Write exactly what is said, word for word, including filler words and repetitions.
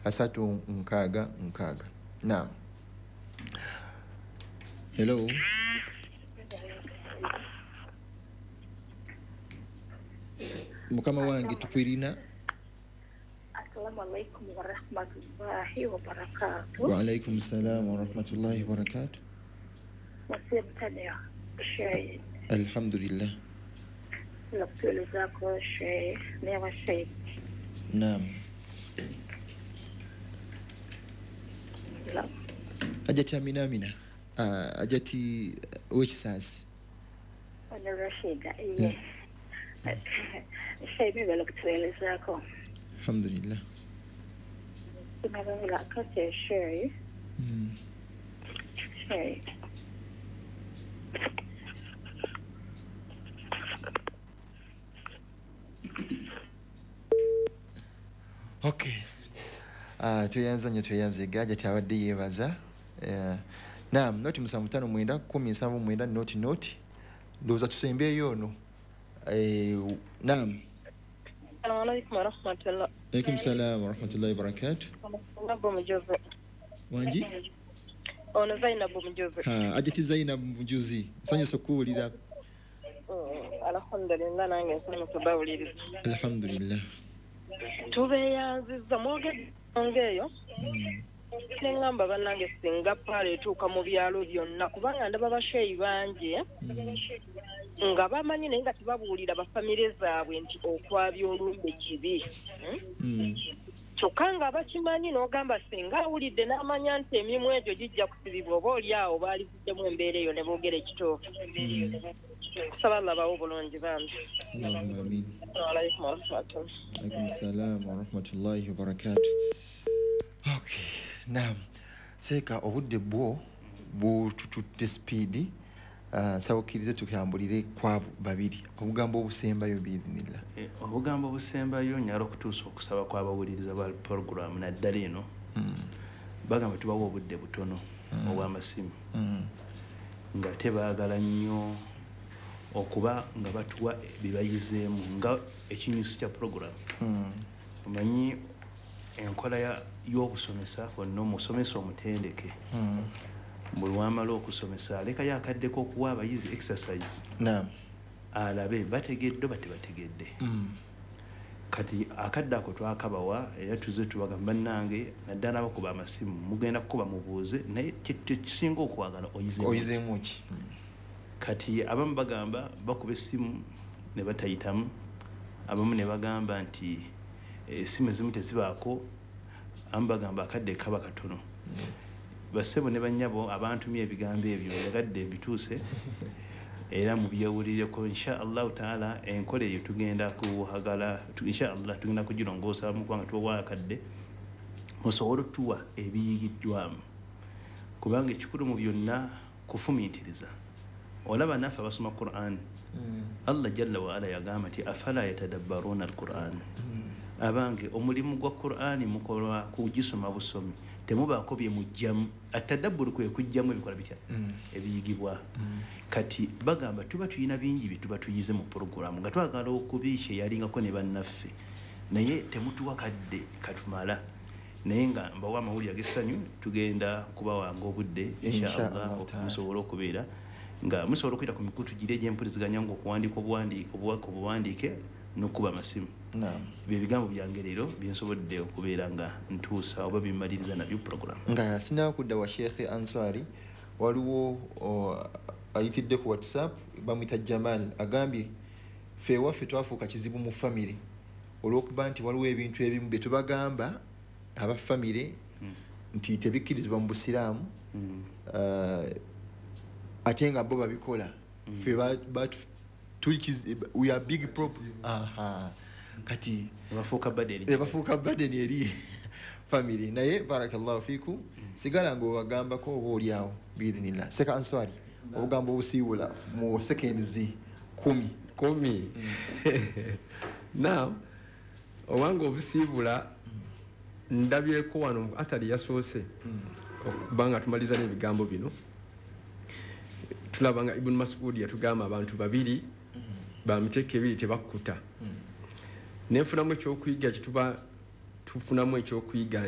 asatu nkaaga nkaaga. Naam. Hello. Mukama wange tukwirina. Assalamu alaikum wa rahmatullahi wa barakatuh. Wa alaikum salam wa rahmatullahi wa barakatuh. Wasibtania shay. Alhamdulillah. Laktulizaako shay newa shay. Naam. Ajati Amina Amina. Uh, ajati wekisasi. Ono Rashida. Yes. Shay mimi laktulizaako. Alhamdulillah. Tunaweza shay. Mm. Shay. Okay. Uh, tuyanza nyo tuyanze gaja tabadde yebaza. Uh, naam, noti musanvu tano mwenda kumi nsanvu mwenda noti noti. Ndowooza tusembeeyo ono. Eh, naam. Assalamu alaikum warahmatullah. Alaikum salam warahmatullahi wabarakatuh. Zainabu Mujuzi. Wanji? Ono Zainabu Mujuzi. Ha, ajati Zainabu Mujuzi. Nsanyuse okuwulira. Alhamdulillah nange nsanyuse bawuliriza. Alhamdulillah. Tubeeyanzizza mwogedde eyo. Nengamba bannange singa paala etuuka mu byalo byonna kubanga ndaba basheeyi bangi nga bamanyi naye nga tebabuulira bafamire zaabwe nti okwabya olumbe kibi. Kyokka nga bakimanyi n'ogamba singa awulidde n'amanya nti emirimu egyo gijja kusibibwa oba oli awo baalivuddemu embeera eyo ne boogera ekituufu. Kusaba Allah bawe obulungi bambi. Allahumma amin. Alaikum warahmatullahi. Alaikum salam wa rahmatullahi wa barakatuh. Okay, naam. Seeka obudde bwo butututte speedi. Uh, sawo kkirize tukambulire kwabo babiri obugambo obusembayo biidhinillah. Eh, obugambo obusembayo nyala okutuusa okusaba kw'abawuliriza ba program naddala eno. Mm. Bagamba tubawa obudde butono mm. obw'amasimu. Mm. Nga tebaagala nnyo okuba nga batuwa bibayizeemu nga ekinyusi kya program. Mm. Omanyi enkola y'okusomesa kwonna omusomesa omutendeke. Mm. Buli wamala okusomesa alekayo akaddeko okuwa abayizi exercise. Naam. Alabe bategedde oba tebategedde. Mm. Kati akadde ako twakabawa era tuzze tubagamba bannange naddala abakuba amasimu mugenda kukuba mubuuze naye kisinga okwagala oyizeemu. Oyizeemu ki? Kati abamu bagamba bakuba essimu ne batayitamu, abamu ne bagamba nti essimu ezimu tezibaako, abamu bagamba akadde kaba katono. Mm. Basebo ne bannyabo abantumye ebigambo ebyo njagadde mbituuse era mubyewulireko insha Allahu taala. Enkola eyo tugenda kuhagala insha Allah tugenda kugirongoosamu kubanga tubawa akadde musobole otuwa ebiyigiddwamu kubanga ekikulu mu byonna kufumiitiriza. Olaba naffe abasoma Qur'an, Allah jalla wa ala yagamba nti afala yatadabbaruna al-Qur'an. Abange omulimu gwa Qur'ani mukola kugisoma busomi temubaako bye mujjamu. Atadabburu kwe kujjamu ebikola bitya ebiyigibwa. Kati bagamba tuba tuyina bingi bye tuba tuyize mu program nga twagala okubiisha yalingako ne bannaffe naye temutuwa kadde katumala. Naye nga mbawa amawulire ag'essanyu tugenda kubawanga obudde insha Allah musobole okubeera nga musobola okuyita ku mikutu giri egy'empuliziganya ng'okuwandiika obuwaka obuwandiike n'okuba amasimu. Naam. Bye bigambo byange leero bye nsobodde okubeera nga ntuusa oba bimmaliriza nabyo program. Nga sinaba kudda wa Sheikh Answari, waliwo ayitidde ku WhatsApp bamuyita Jamal agambye ffe ewaffe twafuuka kizibu mu famire olw'okuba nti waliwo ebintu ebimu bye tubagamba aba famire nti tebikkirizibwa mu Busiraamu, ate nga bo babikola. Ffe tuli we are big problem. Aha. Kati bafuuka burden, bafuuka burden eri family. Naye barakallahu fiku, sigala ng'obagambako oba oli awo biidhinillah. Seka Answari, obugambo obusiibula mu seconds kumi kumi. Now obanga obusiibula ndabyeko wano atali yasoose okubanga tumaliza n'ebigambo bino. Tulaba nga Ibn Mas'ud yatugamba abantu babiri bamiteeka ebiri tebakkuta. Nenfunamu ekyokuyiga kituba tufunamu ekyokuyiga